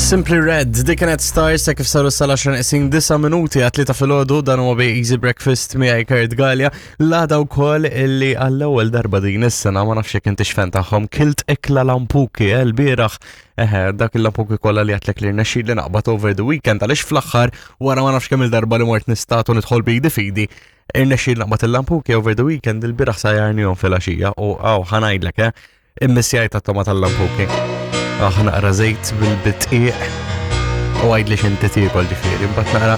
Simply Red, dik kienet Stars ta' kif saru sal-10 neqsin 9 minuti għat ta' filgħodu dan huwa bi Easy Breakfast miegħi Kurt Gallia. L-għada wkoll illi għall-ewwel darba din is-sena ma nafx jekk intix fan tagħhom kilt ikla lampuki eh, l-bieraħ eħe dak il-lampuki kollha li għatlek li rnexxi li naqbad over the weekend għaliex fl-aħħar wara ma nafx kemm il-darba li mort nistatu nidħol bidi fidi irnexxi naqbad il-lampuki over the weekend il-bieraħ sajarnihom fil-għaxija u għaw ħanajdlek eh Immissjajt għat-toma tal-lampuki. Aħ naqra żejt bil-bitqiq u għajd li xinti tiekol ġifieri, mbagħad naqra.